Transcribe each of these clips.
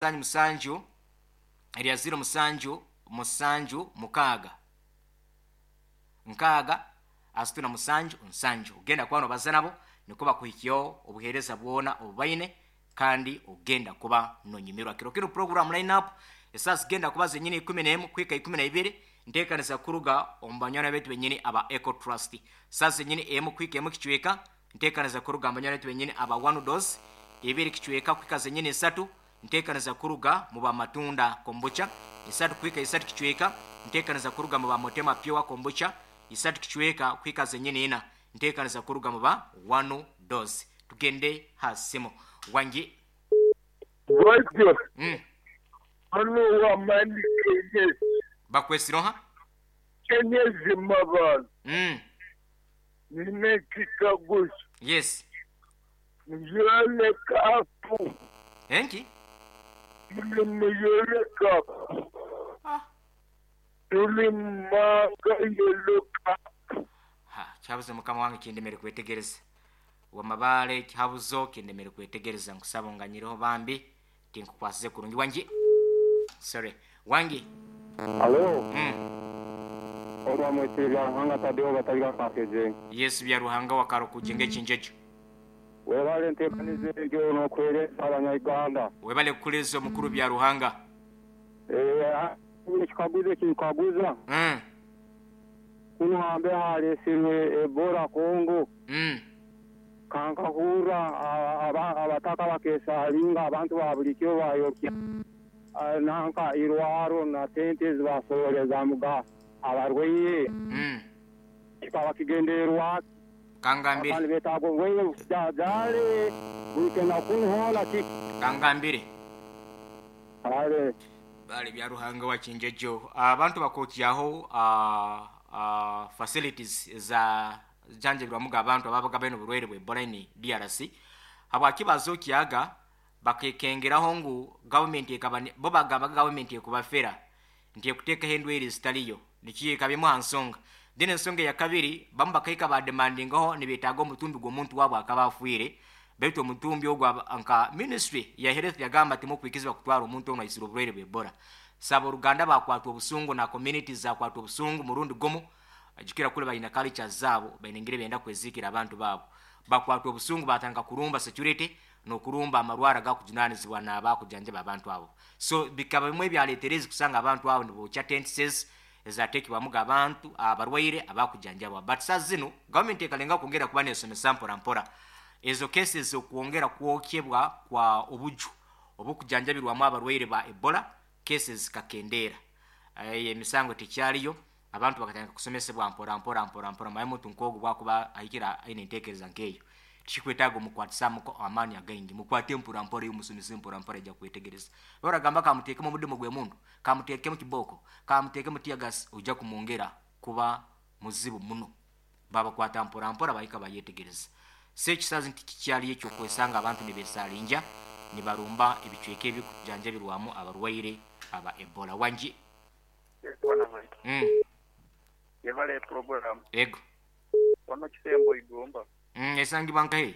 Musanju erya 0 7 7 6 6 37 7. Ogenda kuba nobaza nabo niko bakuhikyaho obuheereza bwona obubaine, kandi ogenda kuba nonyumirwa kiro kino. Program line up esaa zigenda kuba zenyini 11 kuhika 12, nteekaniza kuruga omu banywani baitu benyini aba Eco Trust. Saa zenyini 1 kuhika 1 kicweka, nteekaniza kuruga mu banywani baitu benyini aba One Dose. 2 kicweka kuhika zenyini 3, nteekaniza kuruga mu bamatunda kombucha. 3 kuhika 3 kicweka, nteekaniza kuruga mu ba Motema Pure kombucha. 3 kicweka kuhika zenyini 4, nteekaniza kuruga mu ba One Dose. Tugende ha simu. Wangi. Bwatyo, hano wamani Kenyezi. Bakwesiroha? Kenyezi Mabalo. Nina ekikaguzo. Yes. Muyole kapu. Enki? Muli muyole kapu. Ah. Tuli mumanga yelo kapu. Ha, kyabuze mukama wange kindemere kwetegereza. Wamabale kihabuzo kindemere kwetegereza, nkusaba onganyireho bambi tinkukwasize kurungi. Wangi. Sorry. Wangi. Alo. Olwamwetire bya Ruhanga Tadeo bataliga kakeje. Yesu bya Ruhanga wakaro kujenga ekinjejo. Webale ntekanize egyo n'okweresa Abanyayuganda. Webale kukuleza omukuru bya Ruhanga. Ekikaguzo ekinkaguza. Kuno hambe halesirwe Ebola Congo. Kankahurra abataka bakesalinga abantu ba bulikiro bayokya nanka irwaro na tente zibasoboreza muga abarwaire. Kikaba kigendererwa Kangambire. Abantu betaaga obwaire bujajare bulikenda kunuhola ki. Kangambire. Ale. Bale bya Ruhanga wa kinjejo. Abantu bakokyaho facilities za janjabirwamuga abantu ababaga baine oburwaire bwa Ebola ni DRC. Habwaki bazokyaga bakekengeraho ngu government ekaba bo bagamba government ekubafera nti ekuteekaho endwaire zitaliyo, nikiyo ekaba emu aha nsonga. Then ensonga eya kabiri, bamu bakahika bademandingaho nibetaaga omutumbi gw'omuntu waabo akaba afiire, baitu omutumbi ogwo nka ministry ya health yagamba timukwikizibwa kutwara omuntu onu aisire oburwaire bwa Ebola. Saba oruganda bakwatwa obusungu na communities zakwatwa obusungu murundi gumu, jukira kule balina culture zaabo, baine engeri benda kwezikira abantu baabo. Bakwatwa obusungu batandika kurumba security n'okurumba amarwara gakujunanizibwa n'abakujanjaba abantu abo. So bikaba bimwe ebyaleetereza kusanga abantu abo nibokya tents ezateekebwamuga abantu abarwaire abakujanjabwa. But saa zinu government ekalenga kwongera kuba nesomesa mpora mpora ezo cases okwongera kwokyebwa kwa obuju obukujanjabirwamu abarwaire ba Ebola, cases kakendera. Emisango tekyaliyo, abantu bakatandika kusomesebwa mpora mpora mpora mpora. Maye muntu nkogu bwakuba ahikira aine entekereza nkeyo, tikikwetaaga omukwatisamuko amaani againgi, mukwate mpora mpora, iyo musomese mpora mpora ejja kwetegereza. Baragamba kamuteekemu omudimu gw'emundu, kamuteekemu kiboko, kamuteekemu tear gas, ojja kumwongera kuba muzibu muno. Babakwata mpora mpora bahika bayetegereza. So ekisazi nti kikyaliyo ekyokwesanga abantu nibesalinja nibarumba ebicweka ebikujanjabirwamu abarwaire aba Ebola. Wangi. Yebale program. Ego. Ono kisembo igomba. Esangibwa nkahe?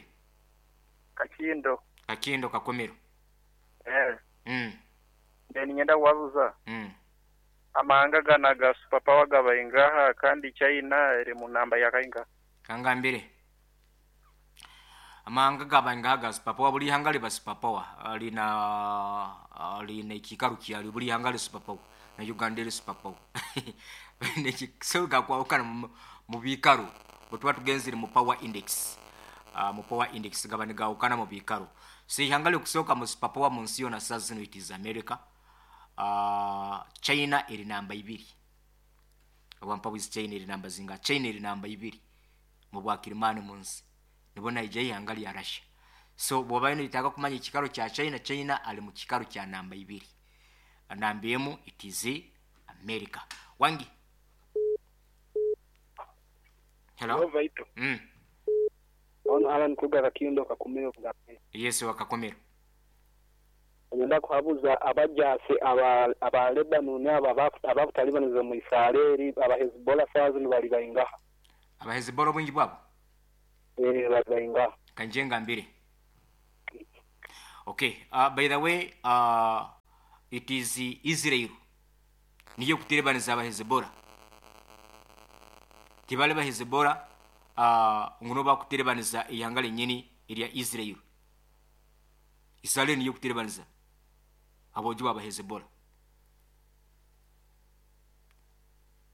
Kakindo. Kakindo Kakomero. Then nyenda wabuza. Amahanga gana ga superpower gabaingaha kandi China eri mu namba ya kainga. Kangambire. Amahanga gabaingaha ga superpower, buli hanga liba superpower. Lina ekikaru kyali buli hanga li superpower. Na Uganda eri superpower. Nekisoga kwawukana mu bikaru. Bwe tuba tugenzere mu power index. Mu power index gaba nigawukana mu bikaru. So ihanga lyokusooka mu superpower mu nsi yona saa zino it is America. China eri namba 2. Owampawizi China eri namba zinga. China eri namba 2 mu bwakirimani mu nsi. Nibona ija ihanga lya Russia. So bw'oba nitaka kumanya ekikaro kya China, China ali mu kikaro kya namba 2. Namba 1 it is America. Wangi. Hello. Vaito. Ono Alan Kuga Kakindo Kakumiro Kugambe. Yesu wakakomero. Ngenda kuhabuza abajase aba Lebanon aba abakutalibaniza mu Israeli aba Hezbollah fazi bali baingaha. Aba Hezbollah bwingi bwabo? Bali baingaha. Kanjenga mbiri. Okay, by the way, it is Israel niyo kuterebaniza abahezebora. Tibali bahezebora, nguno bakuterebaniza ihanga lenyini erya Israel. Israel niyo kuterebaniza abojo abahezebora.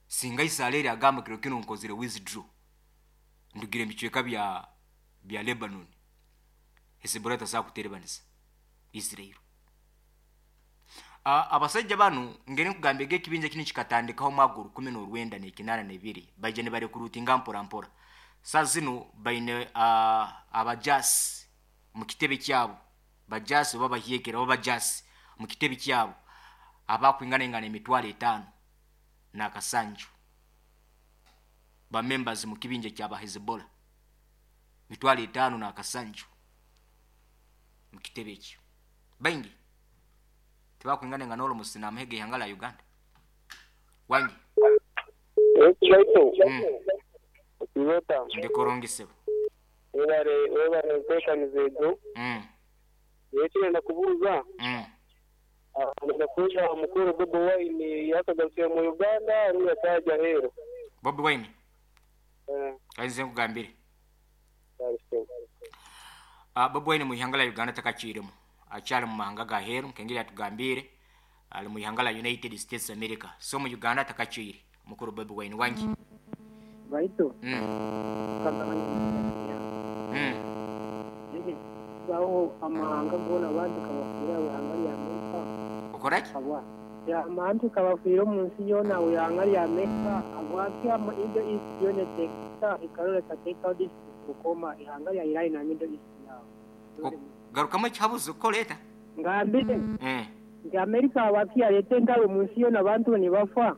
Singa Israel agamba kiro kino nkozire withdraw, ndugire micweka bya Lebanon, Hezbollah tasobola kuterebaniza Israel. Abasajja bano ngeri nkugambye ekibinja kino kikatandikaho omwaka 1982, baija nibarekurutinga mpora mpora. Saa zino baine abajasi mu kitebe kyabo, bajasi oba bahyekera oba bajasi mu kitebe kyabo abakwingana 5,000 n'akasanju ba members mu kibinja kya Hezbollah, 5,000 n'akasanju mu kitebe ekyo. Baingi tibakwingana nga n'olumusi n'amahega ihanga la Uganda. Wangi ndikorongisebo webare ntekaniza ejo. Ekirenda kubuuza ndakubuuza mukuru Bobi Wine yakagarukire mu Uganda rundi atajya heru? Bobi Wine kainze nkugambire, Bobi Wine mu ihanga la Uganda takakiremu, akyali mu mahanga ga heru nkengeri atugambire ali mu ihanga la United States America. So mu Uganda takakire mukuru Bobi Wine. Wangi baito baho amahanga gona abantu kabafira ihanga lya Amerika. Okoraki ya abantu kabafira mu nsi yona ihanga lya Amerika abwaki ama Middle East yona tekta ikarora tateka koma ihanga lya Iran na Middle East yawo. Garukamu ekihabuzo ko leta ngambire nti Amerika abaki yareta entalo mu nsi yona abantu nibafa,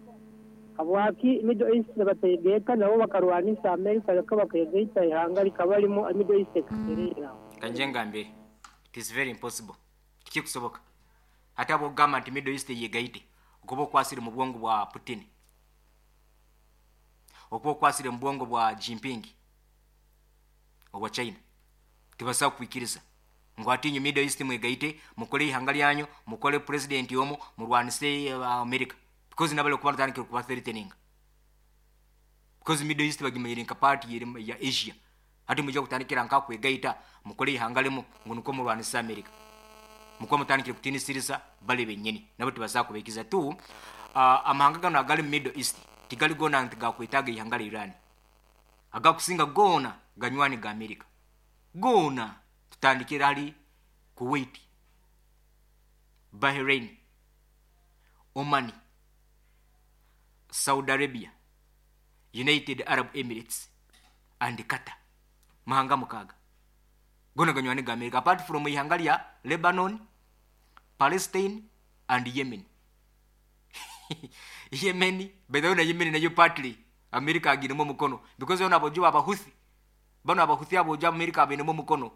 abwaki Middle East bategeka nabo bakarwanisa Amerika leka bakegaita ihanga likaba limu Middle East ekaterera. Kanje ngambire, it is very impossible, tikikusoboka. Ate abogamba nti Middle East yegaite okuba okwasire mu bwongo bwa Putin, okuba okwasire mu bwongo bwa Jinping obwa China, tibasobola kukwikiriza ngu atinyu Middle East mwegaite mukole ihanga lyanyu, mukole president omu murwanise America, because nabale kuba batandikire kuba threatening, because Middle East bagimanyire nka part ya Asia. Ate mujja kutandikira nka kwegaita mukole ihanga limu ngu nuko murwanise America, mukuba mutandikire kutinisiriza bale bennyini nabo tibasobola kubekiza tu. Amahanga gano agali mu Middle East tigali gona nti gakwetaaga ihanga lya Iran, agakusinga gona ganywani ga America gona. Tutandikira ali Kuwait, Bahrain, Oman, Saudi Arabia, United Arab Emirates and Qatar, mahanga mukaga gona ganywani ga America, apart from ihanga lya Lebanon, Palestine and Yemen. Yemen, by the way, na Yemen nayo partly America agiremo mukono, because ona abojo abahuthi bano abahuthi abojo America abinemo mukono.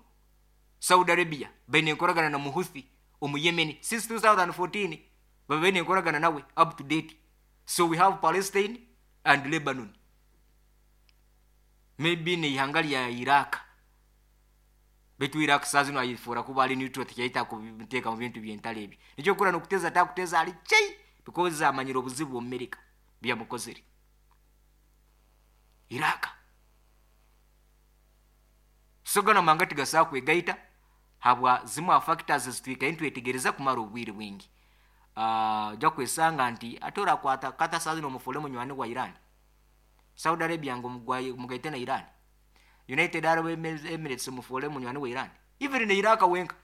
Saudi Arabia baine enkoragana na muhuthi omu Yemen since 2014, babaine enkoragana nawe up to date. So we have Palestine and Lebanon, maybe ne ihanga lya Iraq, betu Iraq saa zino ayifura kuba ali neutral, tikyaita kubiteeka mu bintu by'entalo ebyo. Nikyo kura nokuteza takuteza ali chei, because amanyire obuzibu America byamukozere Iraq. So gano manga tigasobola kwegaita habwa zimu factors zitwika ntwetegereza kumara obwire bwingi. Ojja kwesanga nti ate orakwata kata saa zino omufule munywani wa Iran, Saudi Arabia ngo mugaite na Iran, United Arab Emirates omufule munywani wa Iran, even ne Iraq wenka.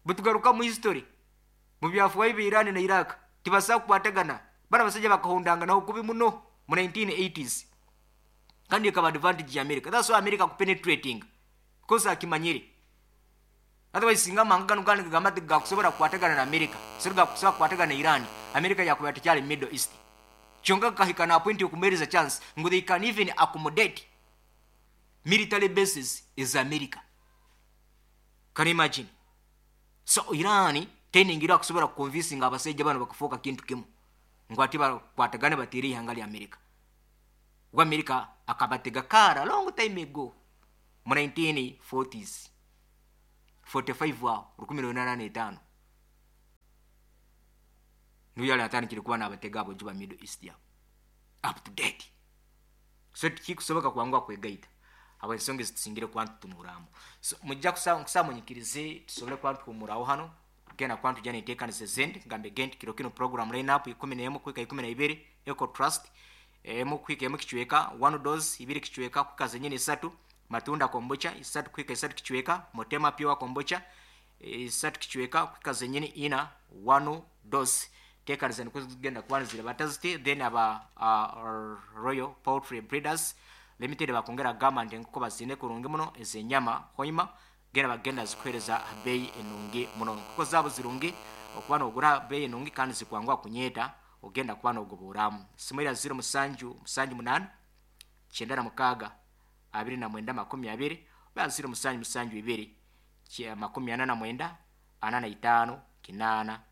Butugaruka mu history mu byafaayo bya Iran na Iraq tibasobola kukwatagana, bana basajja bakahondanga naho kubi muno mu 1980s, kandi ikaba advantage ya America. That's why America kupenetrating, because akimanyire. Otherwise singa amahanga gano gandi gagamba nti gakusobola kukwatagana na America, so gakusobola kukwatagana na Iran, America yakuba tekyali Middle East. Kyonka kahika na point okumereza chance ngo they can even accommodate military bases is America. Can you imagine? So Iran teningira kusobola kuconvincing abasajja bano bakafuuka kintu kimu ngu ati bakwatagane bateere ihanga lya America. Wa America akabatega kara long time ago mu 1940s. 45 aho 1805 niyo yali atandikire kuba n'abatega abo ba Middle East yabo up to date. So tikikusoboka kwanguha kwegaita abo ensonga ezitusingire kuba ntutunuramu. So mujja kusamunyikirize tusobole kuba ntuhumuraho hano tugenda kuba ntujya nenteekanisa ezindi. Ngambe gente kiro kino program line up 11 kuhika 12 Eco Trust emu kuhika emu kichweka 1 dose 2 kichweka kuhika zenyini 3 matunda kombucha 3 kuhika 3 kichweka motema pure kombucha 3 kichweka kuhika zenyini 4 1 dose teekaniza nikwo zigenda kuba nizirabata ziti. Then aba Royal Poultry Breeders Limited bakongera gamba nti enkoko bazine kurungi muno ezenyama hoima genda bagenda zikuhereza bei enungi muno. Enkoko zaabo zirungi okuba nogura bei enungi kandi zikwangwa kunyeeta ogenda kuba nogoburamu. Simu era 0 7 7 8 96 29 20 oba 0 7 7 2 49 45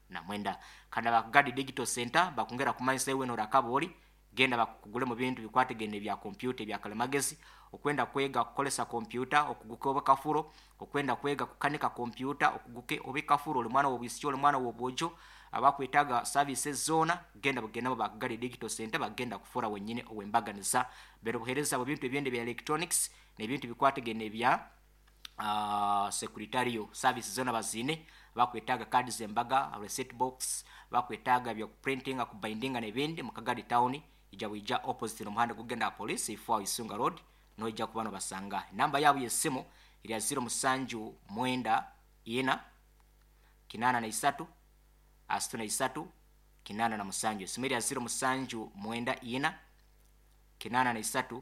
89. Kandi abakugadi Digital Center bakongera kumanyisa iwe norakabori genda bakugule mu bintu bikwategene bya computer bya kalimagezi, okwenda kwega kukolesa computer okuguke obakafuro, okwenda kwega kukanika computer okuguke obekafuro, oli mwana wobwisyo oli mwana wobojo abakwetaga services zona genda bagenda bakugadi Digital Center bagenda kufura wenyine owembaganiza bero buhereza abo bintu ebyende bya electronics n'ebintu bikwategene bya secretarial services zona bazine bakwetaga kadi zembaga receipt box bakwetaga bya printing kubindinga n'ebindi mukagadi town ija buija opposite n'omuhanda gugenda police ifo Isunga Road noija kubano basanga. Namba yabo yesimu iri 0 7 9 4 83 63 87. Simu iri 0 7 9 4 83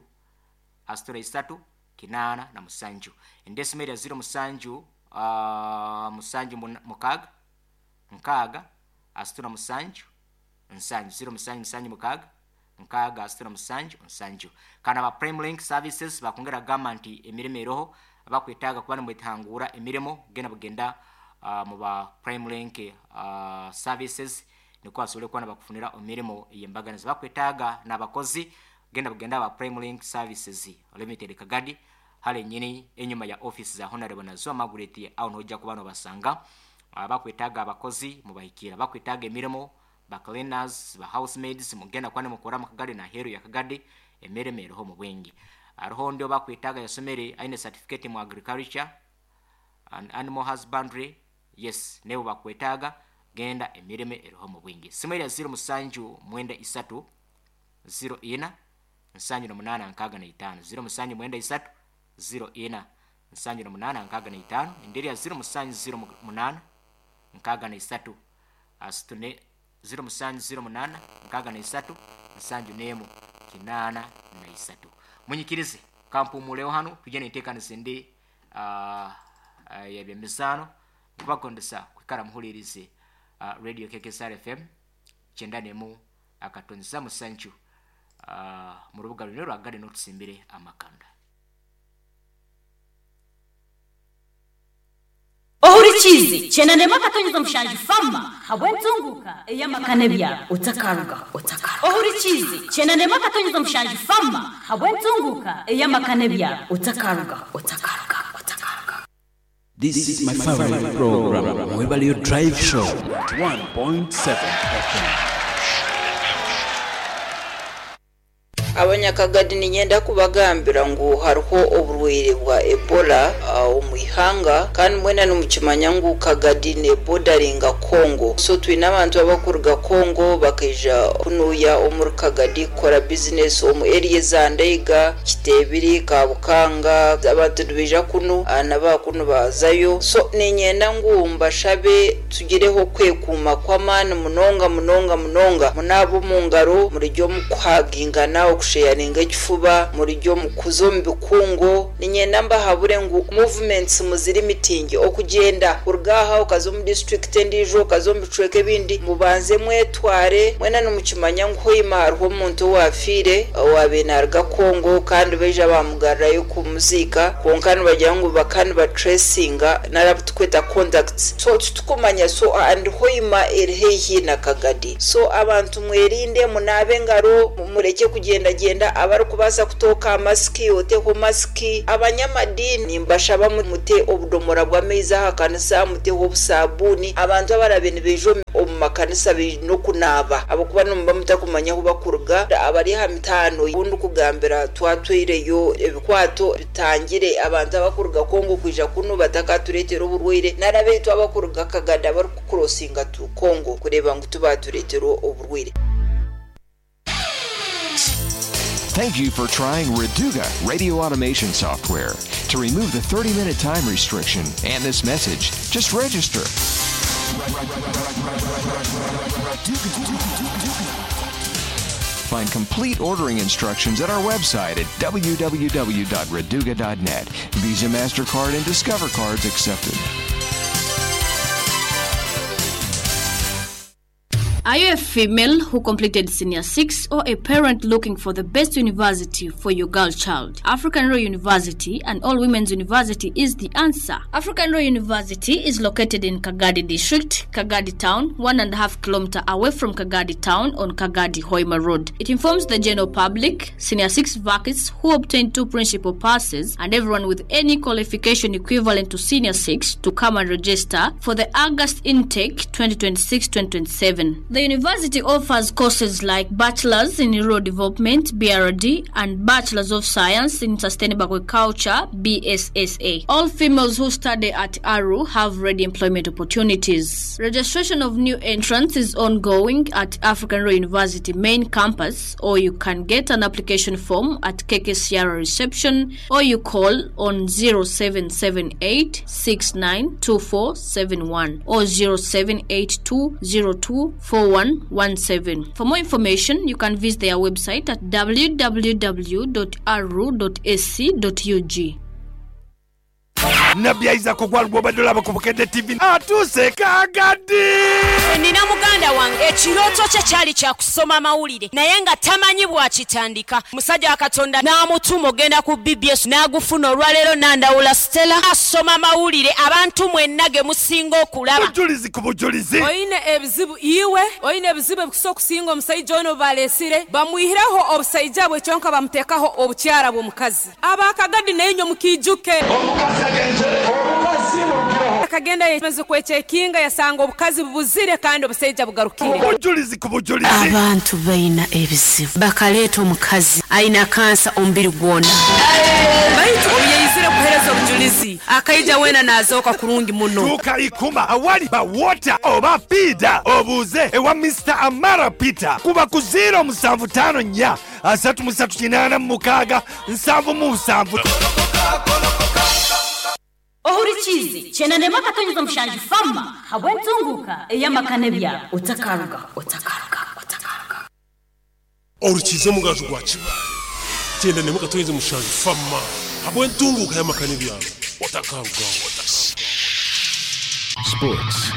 63 87. Endesimu iri 0 7 7 6 6 67 7 0 7 7 6 6 67 7. Kana ba Prime Link Services bakongera gamba nti emirimo eroho abakwetaaga kuba nimwetangura emirimo genda bugenda mu ba Prime Link Services nikwo basobole kuba nibakufunira emirimo ey'embaganiza. Bakwetaaga n'abakozi genda bugenda ba Prime Link Services Limited Kagadi hale nyini enyuma ya office za Honorable Nazwa Margaret aho nojja kuba nobasanga. Bakwetaaga abakozi mubahikira, bakwetaaga emirimo ba cleaners ba housemaids mugenda kwani mukora mukagadi na heru ya Kagadi emirimo eroho mu bwingi. Aroho ndio bakwetaaga yasomere aine certificate mu agriculture and animal husbandry, yes nebo bakwetaaga genda emirimo eroho mu bwingi. Simu ya 0 7 93 04 78 65 0 7 93 04 78 65. Enderi ya 0 7 08 63 asitune 0 7 08 63 71 83. Munyikirize kampumuleho hano tujye nenteekanisa endi y'ebyemizaano nkubagondesa kwikara muhulirize Radio KKSR FM 91.7 mu rubuga luno lwagade n'otusimbire amakanda. Ohurikizi chenandema katonyeza mushanju fama habwentunguka eyamakane bya otakaruga otakaruga. Ohurikizi chenandema katonyeza mushanju fama habwentunguka eyamakane bya otakaruga otakaruga otakaruga. This is my favorite program, Mwebalio Drive Show 1.7 FM. Abanyakagadi ninyenda kubagambira ngu hariho oburwaire bwa Ebola omu ihanga kandi mwena nimukimanya ngu Kagadi ne bordering'a Congo. So twine abantu abakuruga Congo bakaija kunuya omuri Kagadi kukora business omu area za Ndeiga, Kitebiri, Kabukanga, abantu nibaija kunu n'abakunu bazayo. So ninyenda ngu mbashabe tugireho kwekuuma kw'amaani munonga munonga munonga munaaba omu ngaro murijya omu kuhagingana okusheyaringa ekifuba murijya omu kuza omu bikungu. Ninyenda mbahabure ngu movements muziri mitingi okugyenda kuruga aha okaza omu district endiijo okaza omu bicweka ebindi mubanze mwetware mwena nimukimanya ngu hoima hariho omuntu owafiire owaabaire naaruga Congo kandi baija bamugarurayo kumuziika kwonka nibagira ngu bakaba nibatracinga nari tukweta contacts. So titukumanya so and hoima eri haihi na Kagadi. So abantu mwerinde munaabe engaro mureke kugenda kugendagenda, abarikubaasa kutooka masiki oteho masiki. Abanyamadini mbashaba mute obudomora bw'amaizi aha kanisa, muteho obusabuuni. Abantu abarabe nibaija omu makanisa baine okunaaba ahabw'okuba nimuba mutakumanya ahu bakuruga. Abari aha mitaano obu ndikugambira twatwireyo ebikwato bitangire abantu abakuruga Congo kwija kunu batakatureetera oburwaire, nari abaitu abakuruga Kagadi abarikukurosinga to Congo kureeba ngu tibatureetera oburwaire. Thank you for trying Reduga radio automation software. To remove the 30-minute time restriction and this message, just register. Find complete ordering instructions at our website at www.reduga.net. Visa, MasterCard, and Discover cards accepted. Are you a female who completed Senior 6 or a parent looking for the best university for your girl child? African Royal University and All Women's University is the answer. African Royal University is located in Kagadi District, Kagadi Town, 1.5 kilometer away from Kagadi Town on Kagadi Hoima Road. It informs the general public, Senior 6 vacancies who obtained 2 principal passes, and everyone with any qualification equivalent to Senior 6 to come and register for the August intake 2026-2027. The university offers courses like Bachelor's in Rural Development, BRD, and Bachelor's of Science in Sustainable Agriculture, BSSA. All females who study at ARU have ready employment opportunities. Registration of new entrants is ongoing at African Royal University main campus, or you can get an application form at KKCR reception, or you call on 0778 692471 or 0782 02 4117. For more information, you can visit their website at www.aru.ac.ug. Nabbi Isaac Ogwal gw'obadde olaba ku Bukedde TV atuuse Kagadi! Nina muganda wange ekirooto kye kyali kya kusoma mawulire naye nga tamanyi bw'akitandika. Musajja wa Katonda n'amutuma ogenda ku BBS n'agufuna. Olwaleero Nandawula Stella asoma mawulire abantu mwenna ge musinga okulaba. Bujulizi ku bujulizi. Oine ebizibu iwe, oine ebizibu ebikusa okusinga omusaija ono baleesire, bamwihireho obusaija bwe kyonka bamuteekaho obukyara bw'omukazi. Abakagadi nainywe mukiijuke. Akagenda yamaze kwekyekinga yasanga obukazi bubuzire kandi obusaija bugarukire. Obujulizi ku bujulizi. Abantu baina ebizibu bakaleeta omukazi aina kansa omubiri gwona. Baitu obu yaizire kuheereza obujulizi akaija weena naazooka kurungi muno. Tuuka Ikuma awali ba water oba piida obuuze ewa Mr. Amara Peter kuba ku 0754 33 86 77. Ohurikizi chenanema katonyeza mushanju fama habwentunguka eyamakane bya otakaruga otakaruga otakaruga. Orukize mugaju gwa kibaye chenanema katonyeza mushanju fama habwentunguka eyamakane bya otakaruga. Sports.